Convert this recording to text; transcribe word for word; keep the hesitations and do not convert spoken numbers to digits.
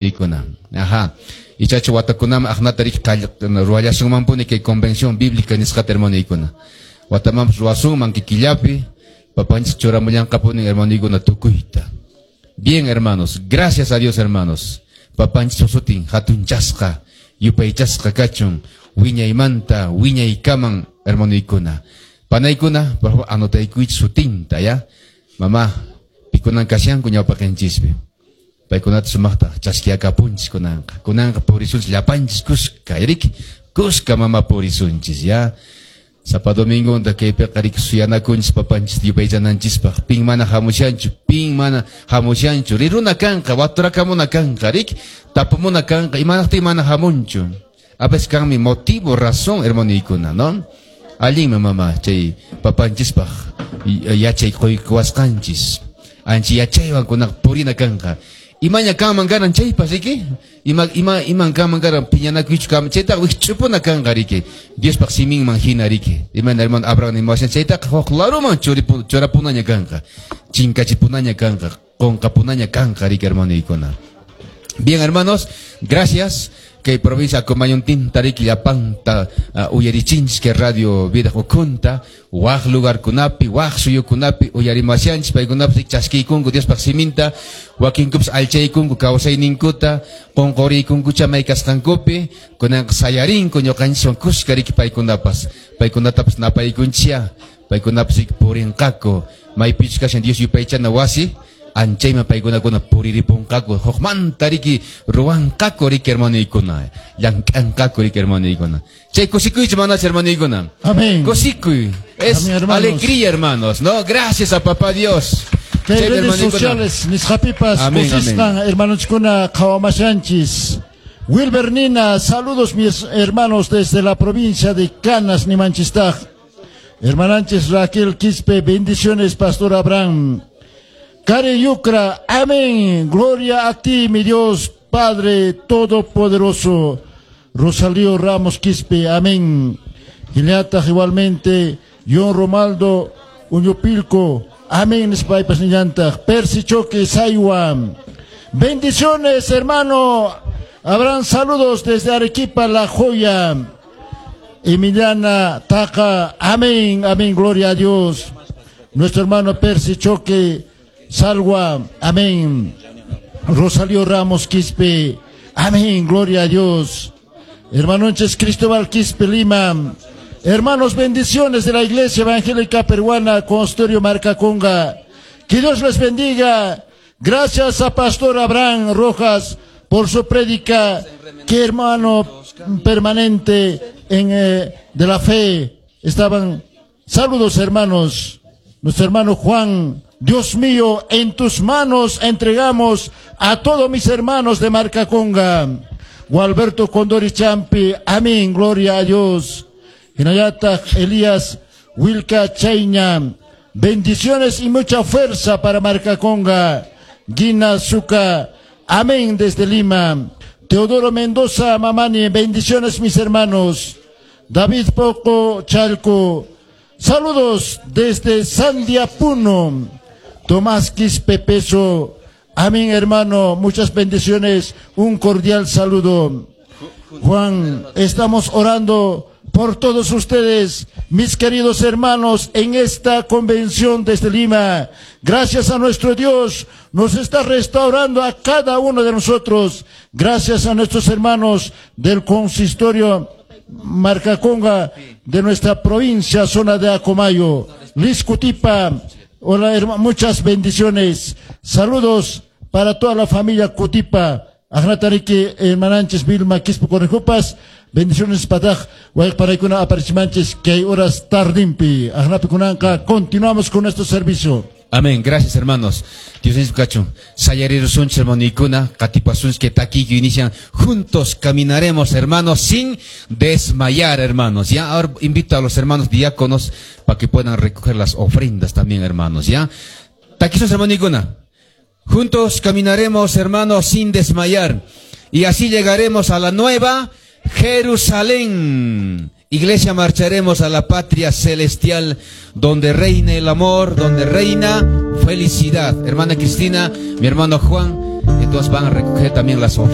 Ikuna. Ajá. Ichachu watakunam aqnata riki ruwallasunmanpuni kay convención bíblica nisqata, hermanoykuna. Watamanpas ruwasunman kikillapi, papanchis churamullanqapuni, hermanoykuna, tukuyta. Bien, hermanos, gracias a Dios, hermanos. Papanchis sutin hatunchasqa, yupaychasqa kachun, wiñaymanta, wiñaykaman, hermanoykuna. Panaykuna, por favor, anotaykuychis sutinta, ya? Mamá, pikunan kashanku ñawpaqenchispi. Paykunata sumaqta chaskiakapunchis kunanqa. Kunanqa purisunchis llapanchis kuska, riki? Kuska, mama, purisunchis, ya? Sapa domingonta kaypiqa riki suyanakunchis papanchis yupaychananchispaq. Pin mana hamushanchu, pin mana hamushanchu. Riruna kanqa, waturakamuna kanqa, riki? Tapumuna kanqa, imanaqtin mana hamunchu. A veces kanmi motivo, razón, hermanoykuna, ¿no? Allinmi, mama, chay papanchispaq yachay quykuwasqanchis. Ancha yachaywan kunaqa purina kanqa. Imaña kanman karan chaypas, riki? Ima ima iman kanman karan piñanakuychu kanman chaytaqa wikch'upuna kanqa, riki? Diospaq siminman hina, riki? Imayna hermano Abraham nimuwashan chaytaqa huk laruman churapunaña kanqa. Chinkachipunaña kanqa, qunqapunaña kanqa, riki, hermanoykuna. Bien, hermanos, gracias. Kay provincia Acomayontinta riki llapanta uh, uyarichinchis kay Radio Vida ukhunta, waq lugarkunapi, waq suyukunapi uyarimashanchis, paykunapas chaskiykunku Diospaq siminta, wakinkupas allchaykunku kawsayninkuta, qunquriykunkucha may kasqankupi, kunanqa sayarinku ñuqanchiswan kuska riki paykunapas, paykunatapas napaykunchia, paykunapas riki purinqaku, maypichus kashan Dios yupaychana wasi, anchayman paykunakuna puriripunqaku, hukmanta riki ruwanqaku, riki, hermanoykuna, llank'anqaku, riki, hermanoykuna. Chay kusikuychu manachu, hermanoykuna? Amén. Kusikuy. Es Amén, hermanos. Alegría, hermanos, ¿no? Gracias a papá Dios. Kay Chay, redes hermanoykuna. Sociales nisqapipas Amén, kusisqan hermanochkuna qhawamashanchis. Wilber Nina, saludos, mis hermanos, desde la provincia de Canas, nimanchistaq. Hermananchis Raquel Quispe, bendiciones, Pastor Abraham. Karen Yucra, amén, gloria a ti, mi Dios, Padre Todopoderoso. Rosalío Ramos Quispe, amén. Giliata igualmente, John Romaldo Uñupilco, amén, nispaypas nillantaq. Percy Choque Saywa, bendiciones, hermano Abraham, saludos desde Arequipa, La Joya. Emiliana Taca, amén, amén, gloria a Dios. Nuestro hermano Percy Choque Salwa, amén. Rosalío Ramos Quispe, amén, gloria a Dios. Hermanonches Cristóbal Quispe Lima, hermanos, bendiciones de la Iglesia Evangélica Peruana, Consistorio Marcaconga. Que Dios les bendiga. Gracias a Pastor Abraham Rojas por su prédica. Que hermano permanente en, eh, de la fe. Estaban. Saludos, hermanos. Nuestro hermano Juan. Dios mío, en tus manos entregamos a todos mis hermanos de Marcaconga. Gualberto Condori Champi, amén, gloria a Dios. Hinayata Elías Wilka Chaiña, bendiciones y mucha fuerza para Marcaconga. Gina Zuca, amén, desde Lima. Teodoro Mendoza Mamani, bendiciones, mis hermanos. David Poco Chalco, saludos desde Sandia, Puno. Tomás Quispe Peso, amén, hermano, muchas bendiciones, un cordial saludo. Juan, estamos orando por todos ustedes, mis queridos hermanos, en esta convención desde Lima. Gracias a nuestro Dios, nos está restaurando a cada uno de nosotros. Gracias a nuestros hermanos del consistorio Marcaconga de nuestra provincia, zona de Acomayo. Liz Cutipa, hola, hermano, muchas bendiciones. Saludos para toda la familia Cutipa. Ajnatariki, hermananchis Vilma Quispe Correjupas, bendiciones pataj, wayqpanaykuna aparichimanchis kay horas tardimpi. Ajnapi kunanqa, continuamos con nuestro servicio. Amén. Gracias, hermanos. Dios kachun. Sayarirusunchis, hermanoykuna, qatipasunchis kay takiyku inician. Juntos caminaremos, hermanos, sin desmayar, hermanos. Ya, ahora invito a los hermanos diáconos para que puedan recoger las ofrendas también, hermanos. Ya. Takisun, hermanoykuna. Juntos caminaremos, hermanos, sin desmayar. Y así llegaremos a la nueva Jerusalén. Iglesia, marcharemos a la patria celestial, donde reina el amor, donde reina felicidad. Hermana Cristina, mi hermano Juan, Entonces van a recoger también las ofrendas.